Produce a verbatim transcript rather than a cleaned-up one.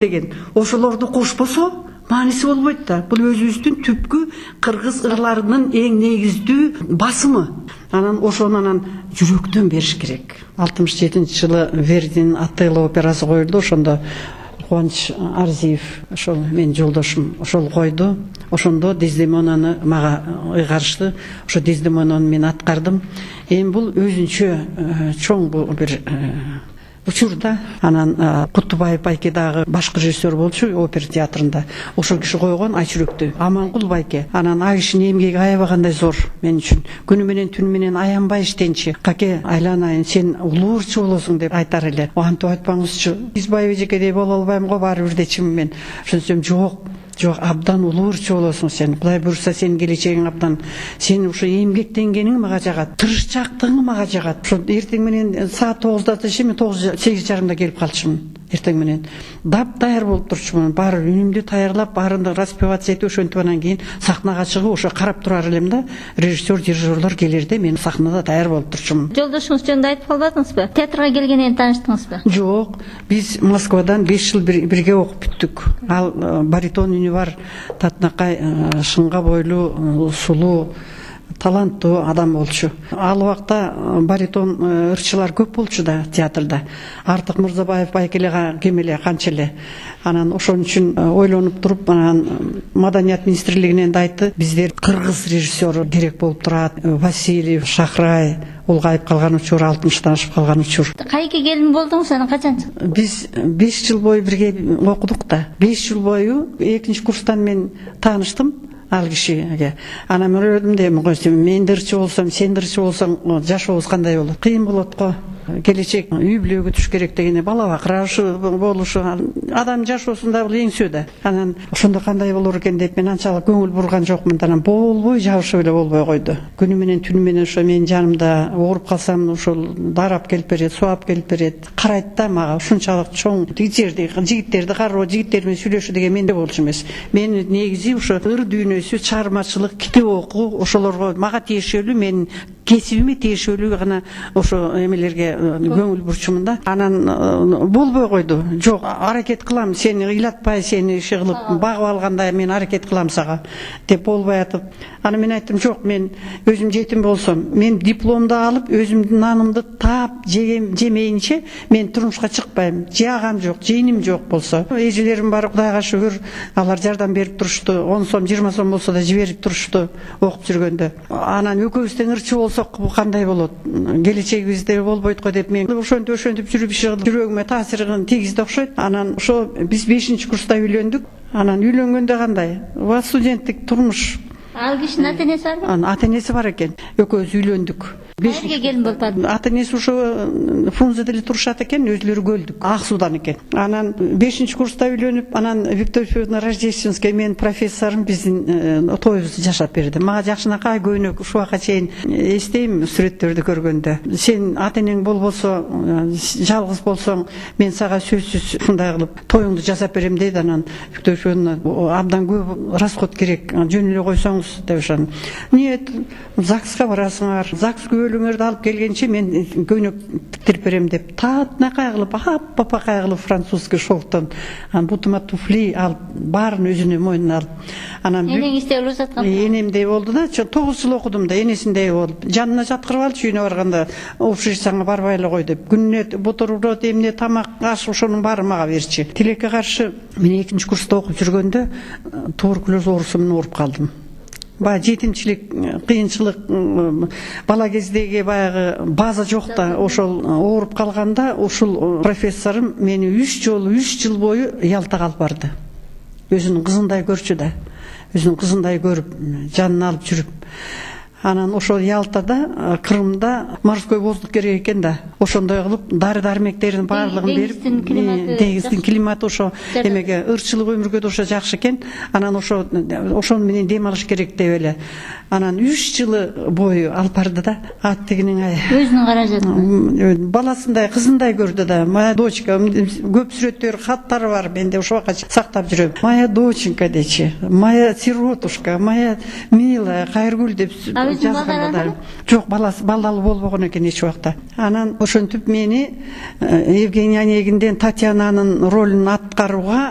деген ошолорду кошпосо мааниси болбойт да. Бул өзүбүздүн түпкү кыргыз ырларынын эң негиздүү басымы. Анан ошону анан жүрөктөн бериш керек. алтымыш жетинчи жылы Вердинин Отелло операсы коюлду. Ошондо Кубаныч Арзиев, ошол менин жолдошум, ошол койду. Ошондо Дездемонаны мага ыйгарышты. Ошо Дездемонаны мен аткардым. Эми бул өзүнчө чоң бир учур да. Анан Кутубаев байке дагы башкы режиссер болчу опера театрында. Ошол киши койгон Айчүрөктү. Амангул байке. Анан ал кишинин эмгеги аябагандай зор мен үчүн. Күнү менен түнү менен аянбай иштенчи. Каке айланайын, сен улуу ырчы болосуң деп айтар эле. Антип айтпаңызчы. Избаев эжекедей боло албайм го, баары бир дечимин мен. Ошентсем жок. Жок, абдан улуу ырчы болосуң сен. Кудай буйрса сенин келечегиң абдан. Сен ушу эмгектенгениң мага жагат. Тырышчаактыгың мага жагат. Ошо эртең менен саат тогузда чейин мен тогуз сегиз жарымда келип калчумун. Эртең менен дап даяр болуп турчумун. Баары үнүмдү даярлап, баарында распевация этип, ошентип анан кийин сахнага чыгып, ошо карап турар элем да. Режиссер, дирижерлор келерде мен сахнада даяр болуп турчумун. Жолдошуңуз жөнүндө айтып калбадыңызбы? Театрга келгенден таныштыңызбы? Жок, биз Москвадан беш жыл бирге окуп бүттүк. Ал баритон үнү бар, татынакай, шыңга бойлуу, сулуу, таланттуу адам болчу. Ал убакта баритон ырчылар көп болчу да театрда. Артык Мырзабаев байкеле кем эле, канча эле. Анан ошон үчүн ойлонуп туруп, анан Маданият министрлигинен да айтты, биздер кыргыз режиссеру керек болуп турат. Васильев, Шахрай улгайып калган учур, алтымыштан ашып калган учур. Кайсы келин болдуңуз, анан качан чыктыңыз? Биз беш жыл бою бирге окудук да. беш жыл бою экинчи курстан мен тааныштым ал кишиге. Анан мен ойлодум да, мен дырчы болсом, сен дырчы болсоң, жашообуз кандай болот? Кыйын болот го. Келечек үй бүлөгө түш керек дегене, бала бакырашы болушу, адам жашоосунда бул эң сөөдө. Анан ошондо кандай болор экен деп мен анчалык көңүл бурган жокмун. Анан болбой жабышып эле болбой койду. Күнү менен түнү менен ошо менин жанымда ооруп калсам, ошол дарап келип берет, сууап келип берет. Карайт да мага, ушунчалык чоң жерди, жигиттерди кароо, жигиттер менен сүйлөшүү деген менде болчу эмес. Мен негизи ошо ыр дүйнөсү, чыгармачылык, китеп окуу, ошолорго мага тиешелүү, менин кесибиме тиешелүү гана ошо эмелерге көңүл бурчумун да. Анан болбой койду. Жок, аракет кылам, сени ыйлатпай, сени иши кылып багып алгандай мен аракет кылам сага деп болбой атып. Анан мен айттым, жок, мен өзүм жетим болсом, мен дипломду алып, өзүмдүн нанымды таап жемейинче мен турмушка чыкпайм. Жаагам жок, жыйыным жок болсо. Эжелерим бар, Кудайга шүгүр, алар жардам берип турушту. он сом, жыйырма сом болсо да жиберип турушту окуп жүргөндө. Анан экөөбүз тең ырчы болсок кандай болот? Келечегибизде болбойт го деп мен ошентип ошентип жүрүп жүрөгүмө таасирин тийгизди окшойт. Анан ошо биз бешинчи курста үйлөндүк. Анан үйлөнгөндө кандай? Ва студенттик турмуш. Ал кишинин ата энеси барбы? Анын ата энеси бар экен. Экөөбүз үйлөндүк. Кайерге келин болуп барды? Ата энеси ошо Фрунзеде эле турушат экен, өзүлөрү көлдүк. Ак суудан экен. Анан бешинчи курста үйлөнүп, анан Виктория Федоровна Рождественская менин профессорум биздин тоюбузду жашап берди. Мага жакшынакай көйнөк ушуга чейин эстейм сүрөттөрдү көргөндө. Сен ата энең болбосо, жалгыз болсоң, мен сага сөзсүз ушундай кылып тоюңду жасап берем дейт. Анан Виктория Федоровна абдан көп расход керек, жөн эле койсоңуз деп ошон. Нет, ЗАГСка барасыңар. ЗАГС өлүңөрдү алып келгенче мен көйнөк тиктирип берем деп таатынакай кылып, аппапакай кылып французский шелктон бутума туфли алып, баарын өзүнүн мойнуна алып. Анан энеңиздей болуп жаткан. Энемдей болду да, тогуз жыл окудум да, энесиндей болуп. Жанына жаткырып алчу, үйүнө барганда общежитияңа барбай эле кой деп. Күнүнө бутерброд, эмне, тамак, аш, ошонун баарын мага берчи. Тилекке каршы мен экинчи курста окуп жүргөндө туберкулез оорусу менен ооруп калдым. Баягы жетимчилик, кыйынчылык, бала кездеги баягы база жок да, ошол ооруп калганда ушул профессорум мени үч жолу үч жыл бою Ялтага алып барды. Өзүнүн кызындай көрчү да, өзүнүн кызындай көрүп, жанына алып жүрүп. Анан ошол Ялтада, Крымда морской воздух керек экен да. Ошондой кылып дары дармектерин баардыгын берип, деңиздин климаты ошо эмеге ырчылык өмүргө да ошо жакшы экен. Анан ошо ошону менен дем алыш керек деп эле. Анан үч жылы бою алып барды да. Ат тигинин ай. Өзүнүн каражатын. Баласындай, кызындай көрдү да. Моя дочка, көп сүрөттөр, каттары бар, менде ошо убакта сактап жүрөм. Моя доченька дечи, моя сиротушка, моя милая, Кайыргүл деп жазган. Жок, баласы балдалы болбогон экен эч убакта. Анан ошентип мени Евгений Онегинден Татьянанын ролун аткарууга